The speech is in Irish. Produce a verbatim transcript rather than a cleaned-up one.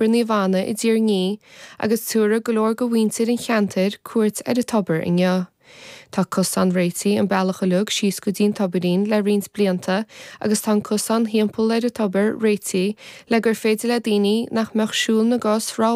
Naomh Anna i dTír an Fhia agus tabharfaidh go leor de mhuintir an cheantair cuairt ar an tobar inniu. Tá cosán réitithe an bealach uilig síos go dtí an tobairín le roinnt blianta agus tá an cosán timpeall ar an tobar réitithe le gur féidir le daoine nach mbeadh siúl na gcos ró